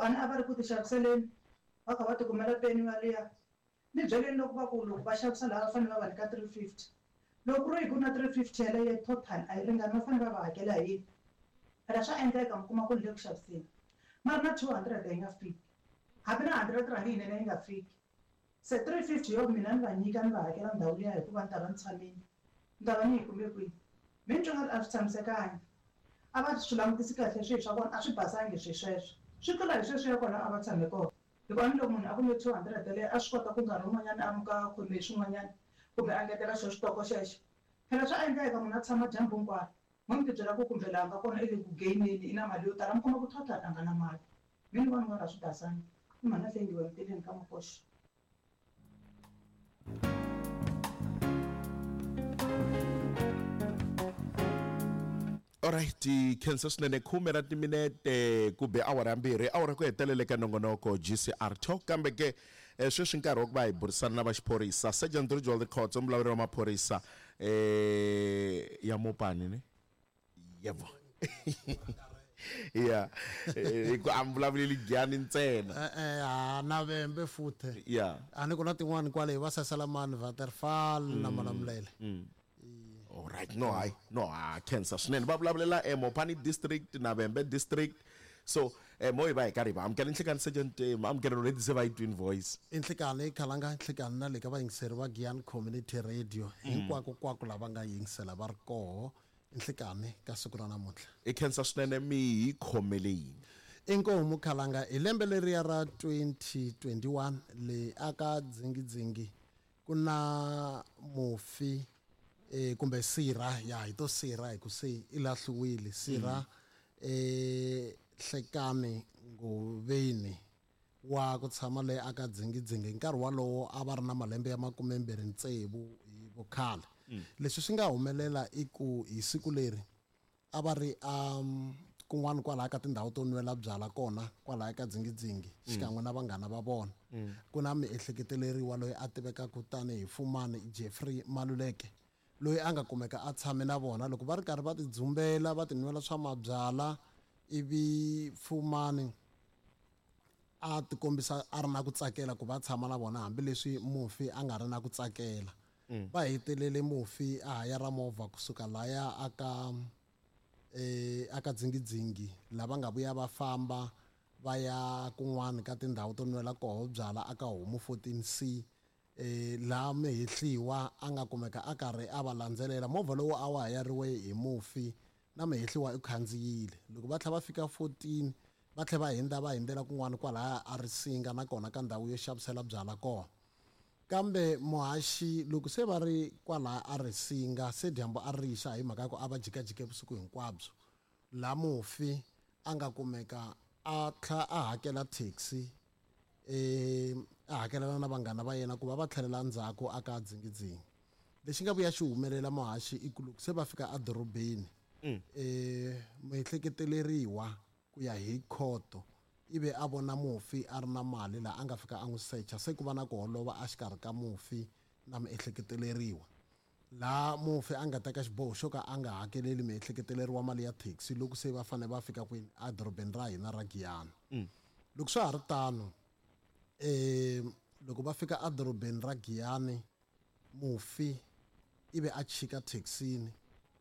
Ku a ni a va ri ku ti xaviseleni va kha va ti kumela peni yaliya. Ni byeleni loko va ku loko va xavisa laha va fanele va va nyika 350. Loko ku ri hi ku na 350 yeleyo total a yi ringani va fanele va va hakela hi yini? Phela swa endleka mi kuma ku ni le ku xaviseni mara na 200 yi nga fiki. Hambi na 100 rand yinene yi nga fiki. Se 350 yo mina ni va nyika ni va hakela ndhawu liya hikuva ni ta va ni tshamile. Ni ta va ni yi kume kwihi? Me ni twa nga ri a swi tshamisekangi. A va swi langutisi kahle swilo swa vona, a swi basangi swilo sweswo. Swi tlula hi sweswiya kwala a va tshame kona. Hikuva ni loko munhu a kume 200 yaleyo a swi kota ku nkarhi wun'wanyana a muka a khome hi swin'wanyana kumbe a ngetela xo xitoko xexo. Phela swa endleka munhu a tshama dyambu hinkwaro, mo mi tibyela ku kumbe laha a nga kona i le ku gain-eni i na mali yo tala mi kuma ku total a nga na mali. Me ni vona nga ri a swi basangi. I mhani a hlengiwa eMtileni ka Makoxa. Alright, khensa swinene khume ra timinete ku be awara ya mbirhi awara ku hetelela eka nongonoko GCR Talk kambe ke eh, sweswi nkarhi wa ku va hi burisana na va xiphorisa Sergeant Rijwald Khotso mulawuri wa maphorisa eh, ya Mopani ne yebo ya eh, hi ku a mi vulavuleli Giyani ntsena E-e ha na Vhembe futhe ya a ni ku na tin'wani kwale hi va Sasalamani Waterfall na Malamulele Alright, no hayi, no ha khensa swinene. Va vulavulela eh, Mopani district na Vhembe district. So eh, mo hi va hi karhi hi va amukela nhlikani Sergeant eh, amukela already se va yi twin voice. I nhlikani Khalanga nhlikani na le ka vayingiseri va Giyani Community Radio hinkwako kwako lava nga yingisela va ri koho nhlikani ka siku ra namuntlha. I khensa swinene mi hi khomele yini? Inkomu Khalanga hi lembe leriya ra 2021 le aka Dzingidzingi Ku na mufi e, kumbe sirha ya hi to sirha hi ku se i lahliwile sirha e Hlekani Ngoveni wa ku tshama le aka Dzingidzingi hi nkarhi walowo a va ri na malembe ya makumembirhi tsevu hi vukhale. Leswi swi nga humelela i ku hi siku leri A va ri a kun'wana kwalaya ka tindhawu to nwela byala kona kwalaya ka Dzingidzingi xikan'we na vanghana va vona. Ku na miehleketeleriwa loyi a tivekaka tanihi Fumani Jeffrey Maluleke loyi a nga kumeka a tshame na vona loko va ri karhi va tidzumbela va tinwela swa mabyala ivi Fumani a tikombisa a ri na ku tsakela ku va tshama na vona hambileswi mufi a nga ri na ku tsakela. Va hetelele mufi a hayara movha kusuka laya aka e aka Dzingidzingi lava nga vuya va famba va ya kun'wana ka tindhawu to nwela koho byala aka Homu 14C e laha Mehehliwa a nga kumeka a karhi a va landzelela. Movha lowu a wu hayariwe hi mufi na Mehehliwa u khandziyile. Loko va tlhela va fika 14 va tlhela va hindza va hindzela kun'wana kwalaya a Risinga na kona ka ndhawu yo xavisela byala kona. Kambe muhaxi loko se va ri kwalaya a Risinga se dyambu a ri xa hi mhaka ya ku a va jikajike vusiku hinkwabyo laha mufi a nga kumeka a tlha a hakela taxi e a hakelela na vanghana va yena ku va va tlhelela ndzhaku a ka Dzingidzingi. Lexi nga vuya xi humelela muhaxi i ku loko se va fika edorobeni e muehleketeleriwa ku ya hi khoto ivi a vona mufi a ri na mali laha a nga fika a n'wi secha se ku va na ku holova exikarhi ka mufi na muehleketeleriwa laha mufi a nga teka xiboho xo ka a nga hakeleli muehleketeleriwa mali ya taxi loko se va fanele va fika kwini edorobeni ra hina ra Giyani. Loko swa ha ri tano loko va fika edorobeni ra Giyani mufi ivi a chika thekisini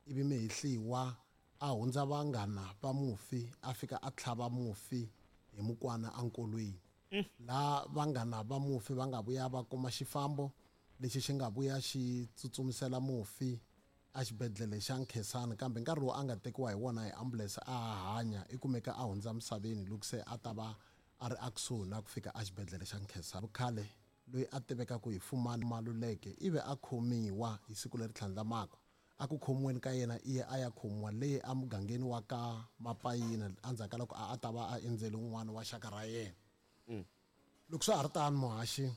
ivi mihehliwa a hundza vanghana va mufi a fika a tlhava mufi hi mukwana enkolweni laha vanghana va mufi va nga vuya va kuma xifambo lexi xi nga vuya xi tsutsumisela mufi exibedhlele xa Nkhensani kambe nkarhi lowu a nga tekiwa hi wona hi ambulense a ha hanya i kumeka a hundza misaveni loko se a ta va a ri ekusuhi na ku fika exibedhlele xa Nkhensani. Vukhale loyi a tivekaka hi Fumani Maluleke ivi a khomiwa hi siku leri tlhandlamaka. A ku khomiweni ka yena iye a ya khomiwa le emugangeni wa ka Mapayina endzhaku ka loko a a ta va a endzele un'wana wa xaka ra yena. Loko swa ha ri tano muhaxi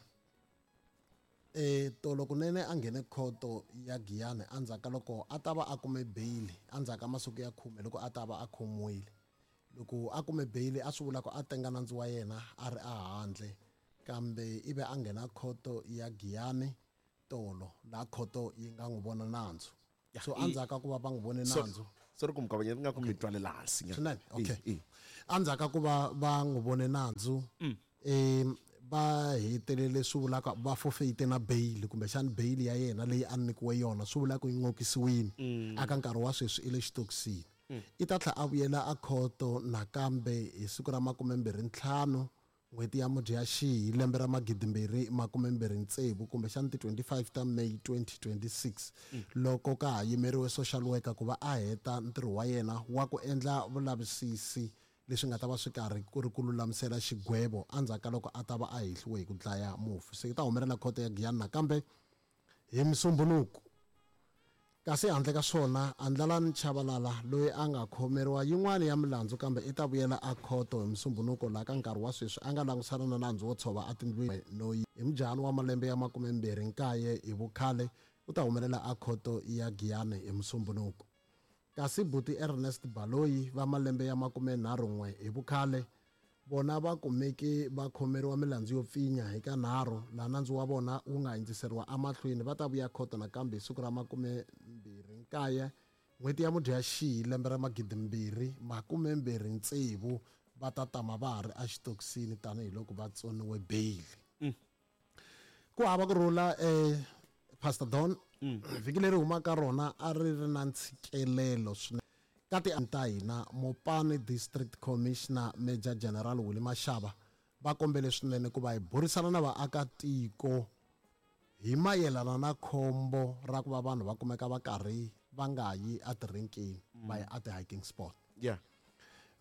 e tolo kunene a nghene khoto ya Giyani endzhaku ka loko a ta va a kume beyili endzhaku ka masiku ya khume loko a ta va a khomiwile. Loko a kume beyili a swi vula ku a tenga nandzu wa yena a ri ehandle kambe ivi a nghena khoto ya Giyani tolo laha khoto yi nga n'wi vona nandzu. So endzhaku ka ku va va n'wi vone nandzu. Sorry ku mi kavanyeta nga ku mi twalela hansi nyana. Swinene, okay. E, e. Endzhaku ka ku va va n'wi vone nandzu, va hetelele swi vulaka va forfeite na bail, kumbexana bail ya yena leyi a nyikiwe yona swi vula ku yi n'okisiwile. Aka nkarhi wa sweswi i le xitokisini. I ta tlhela a vuyela a khoto nakambe hi siku ra 25 n'hweti ya Mudyaxihi lembe ra 2026, kumbexana ti 25 ta May 2026, loko ka ha yimeriwe social worker ku va a heta ntirho wa yena wa ku endla vulavisisi leswi nga ta va swi karhi ku ri ku lulamisela xigwevo endzhaku ka loko a ta va a hehliwe hi ku dlaya mufi. Se yi ta humelela khoto ya Giyani nakambe hi Musumbhunuku. Kasi handle ka swona, Andlalani Chabalala loyi a nga khomeriwa yin'wana ya milandzu kambe i ta vuyela a khoto hi Musumbhunuko laha ka nkarhi wa sweswi a nga langusana na nandzu wo tshova etindlwini no hi mujahani wa malembe ya 29 hi vukhale u ta humelela a khoto ya Giyani hi Musumbhunuko. Kasi buti Ernest Baloyi va malembe ya 31 hi vukhale vona va kumeke va khomeriwa milandzu yo pfinya hi ka nharhu laha nandzu wa vona wu nga hundziseriwa emahlweni va ta vuya khoto nakambe hi siku ra 29 n'hweti ya Mudyaxihi lembe ra 2026 va ta tama va ha ri exitokisini tanihiloko va tsoniwe beyili. Ku hava ku rhula, Pastor Don, vhiki leri humaka rona a ri ri na ntshikelelo swinene ka ti ta hina. Mopani District Commissioner Major General Willie Mashaba va kombele swinene ku va hi burisana na vaakatiko hi mayelana na khombo ra ku va vanhu va kumeka va karhi va nga yi etirenkeni, va ya ati-hiking spot.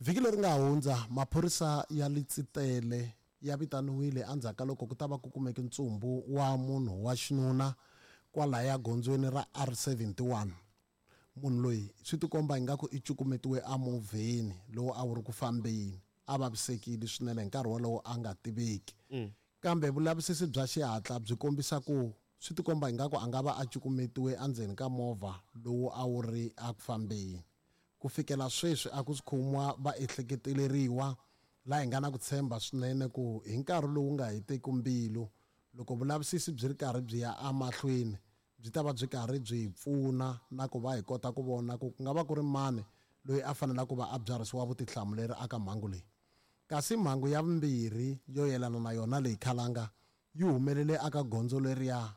Vhiki leri nga hundza maphorisa ya Letsitele ya vitaniwile endzhaku ka loko ku ta va ku kumeke ntsumbu wa munhu wa xinuna kwalaya gondzweni ra R71. Munhu loyi swi tikomba ingaku i cukumetiwe emovheni lowu a wu ri ku fambeni, a vavisekile swinene hi nkarhi wolowo a nga tiveki. Kambe vulavisisi bya xihatla byi kombisa ku swi tikomba ingaku a nga va a cukumetiwe endzeni ka movha lowu a wu ri eku fambeni. Ku fikela sweswi a ku si khomiwa va ehleketeleriwa, laha hi nga na ku tshemba swinene ku hi nkarhi lowu nga heteki mbilu loko vulavisisi byi ri karhi byi ya emahlweni byi ta va byi karhi byi hi pfuna na ku va hi kota ku vona ku ku nga va ku ri mani loyi a fanelaka ku va a byarhisiwa vutihlamuleri eka mhangu leyi. Kasi mhangu ya vumbirhi yo yelana na yona leyi khalanga yi humelele eka gondzo leriya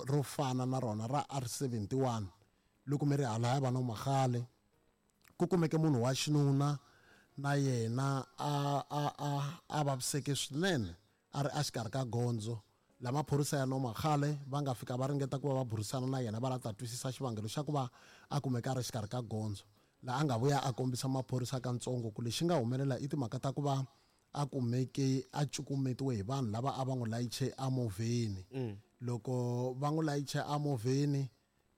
ro fana na rona ra R71 loko mi ri halaya va Nomagale, ku kumeke munhu wa xinuna na yena a vaviseke swinene a ri exikarhi ka gondzo. La maphorisa ya Nomagale va nga fika va ringeta ku va va burisana na yena va lava ta twisisa xivangelo xa ku va a kumeka a ri exikarhi ka gondzo. Laha a nga vuya a kombisa maphorisa katsongo ku lexi nga humelela i timhaka ta ku va a kumeke a cukumetiwe hi vanhu lava a va n'wi layiche emovheni. Loko va n'wi layiche emovheni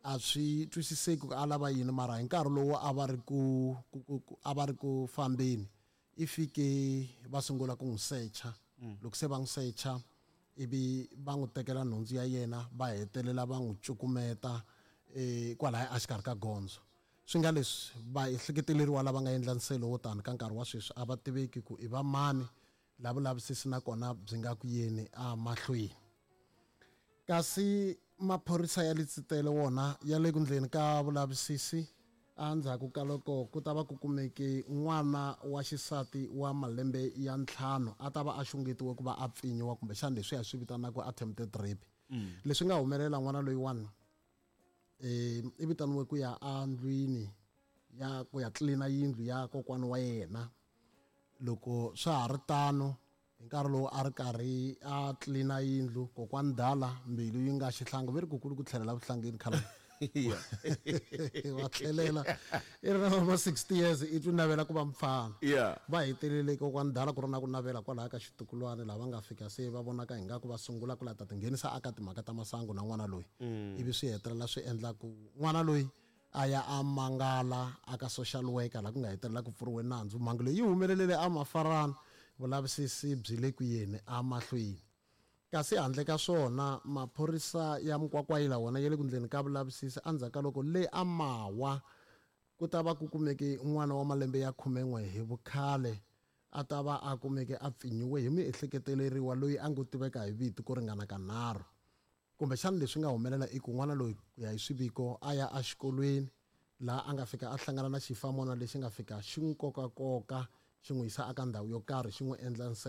a swi twisiseki ku a lava yini, mara hi nkarhi lowu a va ri ku, ku, ku, ku, a va ri ku fambeni i fike va sungula ku n'wi secha. Loko se va n'wi secha ivi va n'wi tekela nhundzu ya yena va hetelela va n'wi cukumeta kwalaya exikarhi ka gondzo. Swi nga leswi va ehleketeleriwa lava nga endla nselo wo tani ka nkarhi wa sweswi a va tiveki ku i va mani, la vulavisisi nakona byi nga ku yeni emahlweni. Kasi maphorisa ya Letsitele wona ya le ku ndleni ka vulavisisi endzhaku ka loko ku ta va ku kumeke n'wana wa xisati wa malembe ya 5 a ta va a xungetiwe ku va a pfinyiwa, kumbexana leswi hi swi vitanaka attempted rape. Leswi nga humelela n'wana loyiwani, i vitaniwe ku ya endlwini ya ku ya tlilina yindlu ya kokwana wa yena. Loko swa ha ri tano hi nkarhi lowu a ri karhi a tlilina yindlu, kokwani dala mbilu yi nga xihlangi, ve ri kukulu ku tlhelela vuhlangeni khale. Va tlhelela i ri na ma 60 years i twi navela ku va mfana. Va hetelele kokwani dala ku ri na ku navela kwalaya ka xitukulwana lava nga fika se va vonaka ingaku va sungula ku la ta tinghenisa aka timhaka ta masangu na n'wana loyi. Ivi swi hetelela swi endla ku n'wana loyi a ya a mangala aka social worker laha ku nga hetelela ku pfuriwe nandzu. Mhangu leyi yi humelelele a Mafarana, vulavisisi byi le ku yeni emahlweni. Kasi handle ka swona maphorisa ya Mukwakwayila wona ya le ku ndleni ka vulavisisi endzhaku ka loko le a Mawa ku ta va ku kumeke n'wana wa malembe ya 11 hi vukhale a ta va a kumeke a pfinyiwe hi miehleketeleriwa loyi a ngo tiveka hi vito ku ringana ka 9. Kumbexana leswi nga humelela i ku n'wana loyi ku ya hi swiviko a ya exikolweni. Laha a nga fika a hlangana na xifamona lexi nga fika xi n'wi kokakoka xi n'wi yisa aka ndhawu yo karhi xi n'wi endla.